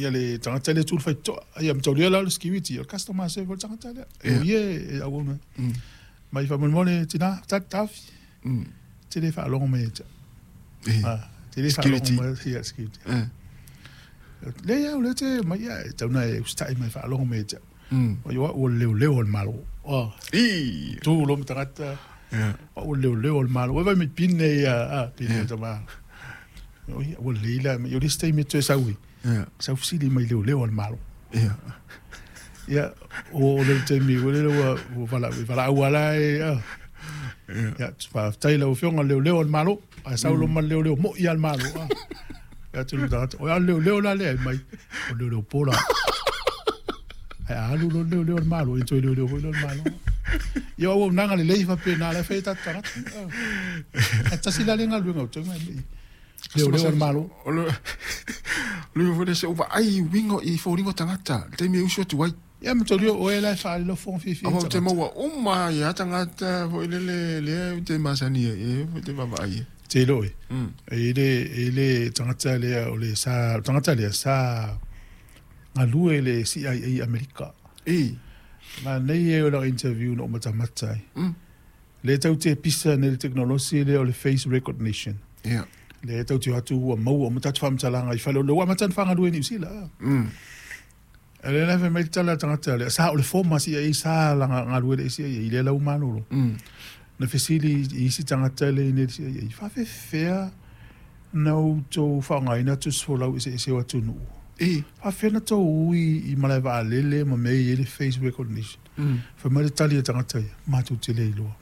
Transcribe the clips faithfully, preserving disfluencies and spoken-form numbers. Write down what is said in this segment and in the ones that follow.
Ia le tagata lea tu le faitotoa. Ia mataulia la o le security, o le customer service o le tagata lea. E o ia e auauna. Mai faamolemole tina, tali taofi. Te le faalogo mai ia te au. Ah, te le faalogo mai ia security. Le ia, o lea te mai ia, e tau na e usitai mai faalogo mai ia te au. O ia ua leoleo o le Malo. Oh. I. Tu lo ma tagata. Ua leoleo o le Malo. Ua vai mai pine ia, ah, pine tama. O ia, ua leila, o le isi taimi e toe sau i. Sau fesili mai leoleo o le Malo. Ia. Ia, o le taimi, ua lele ua, ua vala, valaau ala e, ah. Ia, faafetai lau afioga leoleo o le Malo. Ae sau lo ma leoleo moi a le Malo. Ah. Ia tu le tagata, o ia leoleo la lea mai. O leoleo pola. Ae a alu lo leoleo o le Malo, e toe leoleo foi le Malo. Ia o auaunaga lelei faapena la e fai ai tatou tagata. Ae tasi la le galuega o tauga e lei. Leoleo o le Malo. O le le foi le se uvaai uiga i foliga o tagata, le taimi e usu atu ai. Ia mataulia o oe la e faaali lau fofoga fiafia i Aua ou te tagata. maua uma ia tagata foi lele lea ou te masani ai, e ou te vaavaai ai. Te iloa oe, e le, e le tagata lea o le sa, o le tagata lea sa galue i le C I A i Amerika. E. Ma nei e o lau interview na ou matamata ai. Mm. Le tau te pisa nei le teknolosi lea o le face recognition. Ia. Le tau te o atu ua maua uma tatou faamatalaga i fale o le ua amata ona faagalue i Niu Sila. Mm. E le la fai mai le tala a le tagata lea, sa o le former C I A sa laga galue le C I A i lea lau malolo. Mm. Na fesili i isi tagata le i nei le C I A, faafefea na outou faaaogaina tusi folau eseese o atunuu. E. Faafefea na tou ui i malae vaalele ma mea e i ai le face recognition. Mm. Fai mai le tali a tagata ia, matou te le iloa.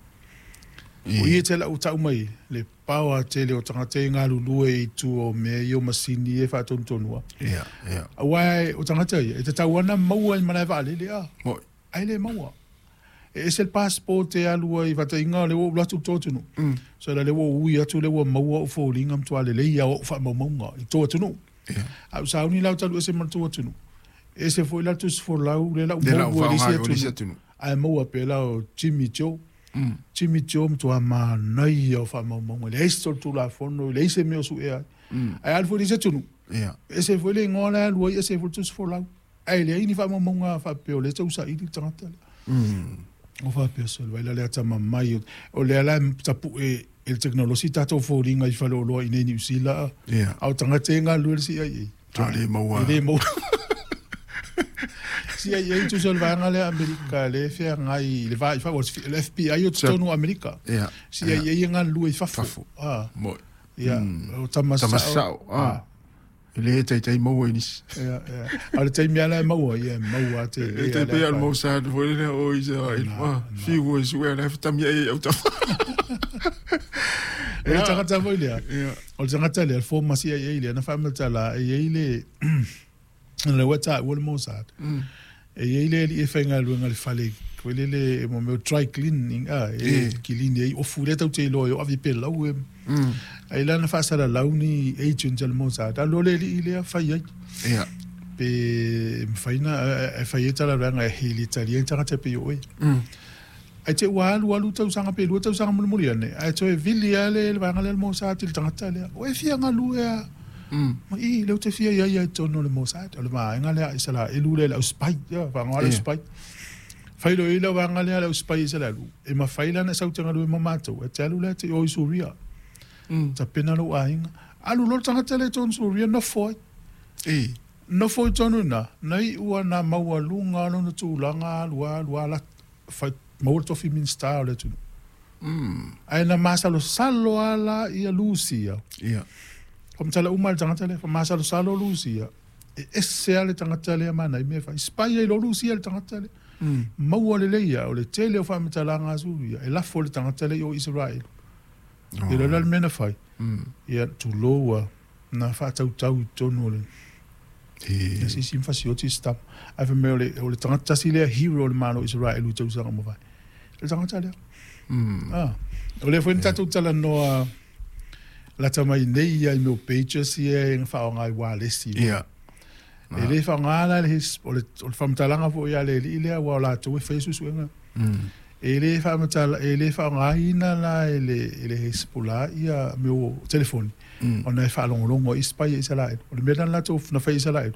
E. O ia te lau tau mai, le paoa tele o tagata e galulue i tua o mea ia o masini e faatonutonua. Ia, ia. Aua o tagata ia, e tatau ana maua i malae vaalele a. Moi. Ai le maua. E ese le passport e alu ai faataiga le ua ou alu atu i le tou atunuu. Mm. So la le ua ou ui atu le ua maua ou foliga ma matua lelei a o ou faamaumauga i tou atunuu. Ia. A ou sauni la ou talu ese ma le tou atunuu. Ese foi la tusi folau le la ou Le la ou maua i le isi faaaoga i le isi atunuu. atunuu. Ae maua pea la o Jimmy Joe. Mm. Jimmy Joe matua manaia o faamaumauga. E leai se solitulafono, e leai se mea o suea ai. Mm. Ae alu foi i le isi atunuu. Ia. Ese foi le igoa la e alu ai, ese foi le tusi folau. Ae leai ni faamaumauga faapea o lea e tausaili le tagata lea. Mm. O faapea solo, ai la le atamamai. O lea la e tapue e le teknolosi tatou foliga i faleoloa i nei Niu Sila. Ia. A o tagata e galulue le C I A. Toa le maua. E le maua. C I A tusa o le vaega lea Amerika, le feagai i le va i fafo, o le F B I o totonu o Amerika. Ia. C I A e galulue i fafo. Fafo. Ah. Moi. Ia, Mm. o tama Tama sao. sao. Ah. E le taitai maua i nisi. Ia, ia. A o le taimi ala e maua, ia, e maua te E le te ala pei al whai. Mossad foi lele o Israel. Na, Ah, na. fiu e sue ala fatami ai au tafa. O le tagata foi lea. Ia. O le tagata lea, le former C I A lea, na faamatala, e i ai le, le ua taua le Mossad. Mm. E i ai le alii e faigaluega le fale, foi lele, mo mea o dry cleaning, ah, e E. kilini ai, ofu lea tau te iloa e o ave pe lau e. Mm. Ai la na faasalalau ni agent a le Mossad, alu o le alii lea fai ai. Ia. Pe mafai na, e fai ai talavaega e hili tali ai tagata pe i oe. Mm. Ai te ua alu alu tausaga pe lua tausaga mulimuli ane, ae toe vili a le le vaega lea le Mossad i le tagata lea. O e fia galue a. Mm. Ma i, leo te fia ia ia i totonu o le Mossad. O le vaega lea Isaraelu lea le au spy, ia, faaaoga le au Ia. spy. Fai loa i le vaega lea le au spy Isaraelu. E mafai la na sau te galue ma matou, e te alu lea te o i Suria. Mm. Tapena lou aiga. Alu loa le tagata lea i totonu Suria, nofo ai. E. Nofo i totonu ina, na iu na maualuga lona tulaga alu alu ala, fai, maua le tofi minista o le atunuu. Mm. Ae na masalosalo ala ia Lusia. Ia. Famatala uma le tagata lea, famasalosalo Lusia. E ese a le tagata lea mana i mea fai. Spy ai lo Lusia le tagata lea. Mm. Maua lelei ia, o le tele o faamatalaga a Suria, e lafo le tagata lea i o Israel. Oh. E lola le mea na fai. Mm. Ia, tulou na faatautau i totonu o le E. Ia sisi mfasioti stop. Ae fai mai o le, o le tagata tasi lea hero o le Malo Israel i tausaga mavae. Le tagata lea. Mm. Ah. O lea foi na tatou talanoa lata mai nei ia i mea o pages ia e faaaoga i wireless. Ia. E le faaaoga la le his, o le, o le faamatalaga foi ia le alii lea ua o latou e fai suesuega. Mm. E le faamatala, e le faaaogaina la e le, e le Hezbollah ia mea o telefoni. Mm. Ona e faalogologo i spy i Israel. O le mea lena latou na fai i Israel.